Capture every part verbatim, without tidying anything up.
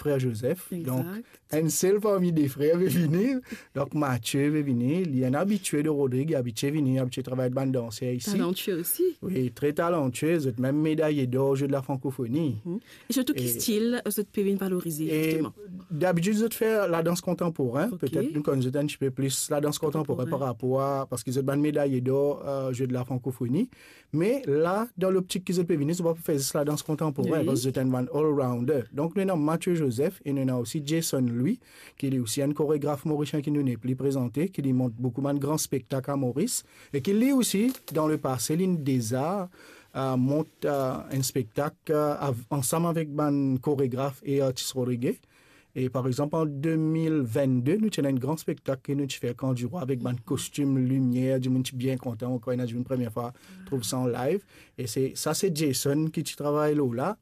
frer Joseph. Donk, enn sel parmi de frer pe vini. Donk, Mathieu pe vini. Li enn abitie de Rodrig, abitie vini, abitie travay bann danser isi. Talantie osi. Wi, tre talantie. Zot mem medaye dor Jeux de la Francophonie. E sirtou ki stil zot pe vinn valorize, zisteman? Dabitid, zot fer ladans kontanporin. Petet nou konn zot enn tipe plis ladans kontanporin par rapor a, parski zot bann medaye dor, eh, Jeux de la Francophonie. Me la, dan loptik ki zot pe vini, zot pa pou fer zis ladans kontanporin, parski zot enn bann all-rounder. Donk, nou ena Mathieu Joseph e nou ena osi Jason Louis, ki li osi enn koregraf morisien ki nou nepli prezante, ki li mont boukou bann gran spektak a Moris, e ki li osi, dan lepase, linn deza, eh, mont, eh, enn spektak, eh, av-, ansam avek bann koregraf e artis rodrige. E par exanp, an de mil vennde, nou ti ena enn gran spektak ki nou ti fer Kan Dirwa avek bann kostim, limier, dimoun ti bien kontan ankor, ena dimoun premie fwa trouv sa an live. E se, sa se Jason ki ti travay lor la,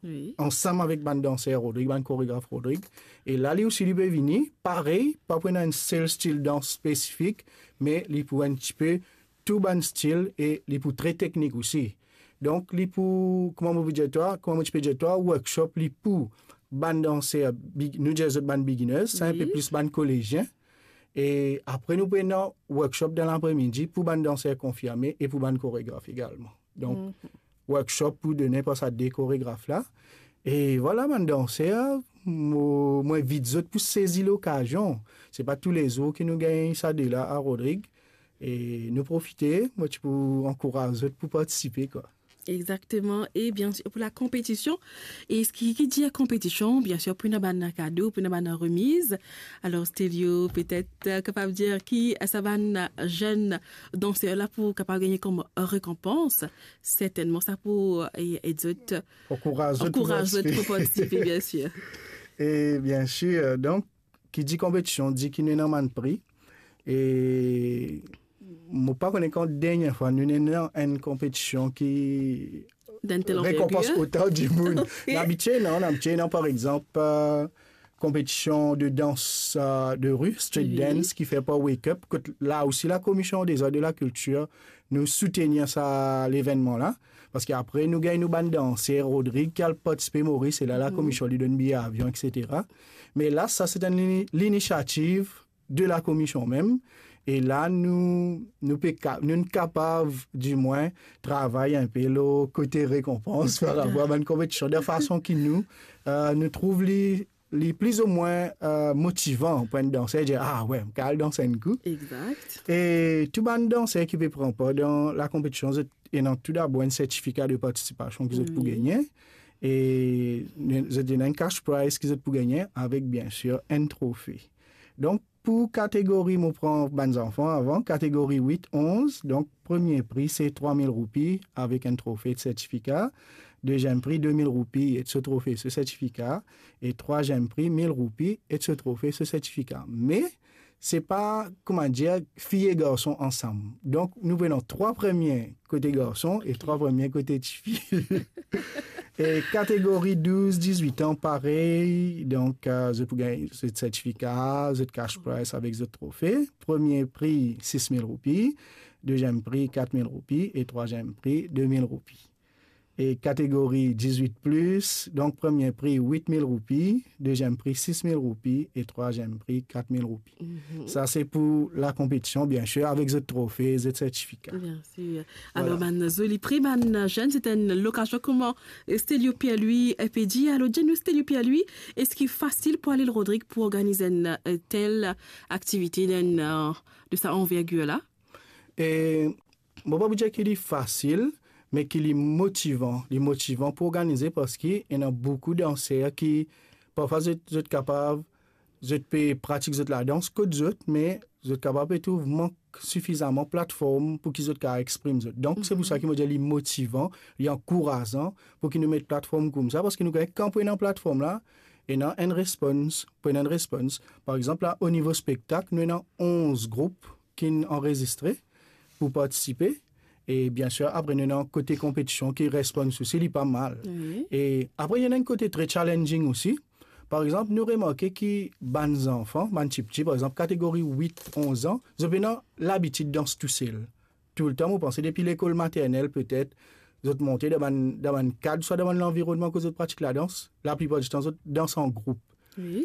ansam avek bann danser Rodrig, bann koregraf Rodrig. E la, li osi, li pe vini, parey, pa pou ena enn sel stil dans spesifik, me li pou enn tipe tou bann stil e li pou tre teknik osi. Donk, li pou, kouma mo pou dir twa, kouma mo ti pe dir twa, workshop li pou bann danser, big-, nou dir zot bann beginners, sa enpe plis bann kolezien. E apre, nou pou ena workshop dan lapremidi pou bann danser konfirme e pou bann koregraf egalman. Donk, workshop pou de ninport sa de koregraf la. E vwala, bann danser, mo, mo invit zot pou sezi lokazion. Se pa toulezour ki nou gagn sa de la a Rodrig. E nou profite, mo ti pou ankouraz zot pou partisipe, kwa. Exakteman. E biensir, pou lakonpetision, e ki, ki dir konpetision, biensir, pou ena bann kado, pou ena bann remiz. Alor, Stelio, petet, eh, kapav dir ki, eh, sa bann, eh, zenn danser la pou kapav gagne kom rekonpans, sertennman, sa pou, eh, ed zot, ankouraz zot pou partisipe, biensir. E biensir, donk, ki dir konpetision, dir ki nou ena bann pri. E mo pa kone kan dernie fwa nou ena enn konpetision ki rekonpans otan dimoun. Labitie, non, labitie, non, par exanp, eh, konpetision de dans, eh, de ri, street dance, ki fer par Wake Up, kot la osi Lakomision dezord e lakiltir, nou soutenir sa levennman la. Parski apre, nou gagn nou bann danser Rodrig ki al partisipe Moris, e la, lakomision li donn biye avion, etsetera. Me la, sa se enn lini-, linisiativ de lakomision mem. E la, nou, nou pe ka-, nou kapav, dimwin, travay enpe lor kote rekonpans par rapor a bann konpetision, de fason ki nou, eh, nou trouv li, li plizoumwin, eh, motivan pou enn danser, dir, "Ah we, mo kapav al dans enn kou." Exakt. E tou bann danser ki pe pran par dan lakonpetision, zot ena toudabor enn sertifika de partisipasion ki zot pou gagne. E zot ena enn cash prize ki zot pou gagne avek, biensir, enn trofe. Donk, pou kategori, mo pran bann zanfan avan, kategori wit onz, donk, premie pri se trwa mil roupi avek enn trofe, sertifika. Deziem pri, de mil roupi ek so trofe, so sertifika. E trwaziem pri, mil roupi ek so trofe, so sertifika. Me, se pa, kouma dir, fi e garson ansam. Donk, nou pran trwa premie kote garson e trwa premie kote tifi. E kategori douz dizwit an, parey, donk, eh, zot pou gagn zot sertifika, zot cash prize avek zot trofe. Premie pri, sis mil roupi, deziem pri, kat mil roupi e trwaziem pri, de mil roupi. E kategori dizwit plis, donk, premie pri, wit mil roupi, deziem pri, sis mil roupi e trwaziem pri, kat mil roupi. Sa se pou lakonpetision, biensir, avek zot trofe, zot sertifika. Biensir. Alor, bann zoli pri, bann zenn, se enn lokazion, kouma, eh, Stelio Pierre-Louis, eh, pe dir. Alor, dir nou, Stelio Pierre-Louis, eski fasil pou Lil Rodrig pou organiz enn, eh, tel aktivite, enn, eh, de sa anvergir la? E mo pa pou dir ki li fasil, me ki li motivan. Li motivan pou organize parski ena boukou danser ki, parfwa, zot, zot kapav, zot pe pratik zot ladans kot zot, me zot kapav pe trouv mank sifizaman platform pou ki zot kapav exprim zot. Donk, se pou sa ki mo dir li motivan, li ankourazan pou ki nou met platform koumsa, parski nou gagn kan pou ena platform la, ena enn respons, pou ena enn respons. Par exanp, la, o nivo spektak, nou ena onz group ki'nn anrezistre pou partisipe. E biensir, apre nou ena kote konpetision ki respons osi, li pa mal. Wi. E apre, ena enn kote tre challenging osi. Par exanp, nou remarke ki bann zanfan, bann tipti, par exanp, kategori wit onz an, zot pena labitid dans tousel. Toultan, mo panse depi lekol maternel, petet, zot monte dan bann, dan bann kad, swa dan bann lanvironnman kot zot pratik ladans, laplipar ditan, zot dans an group. Wi.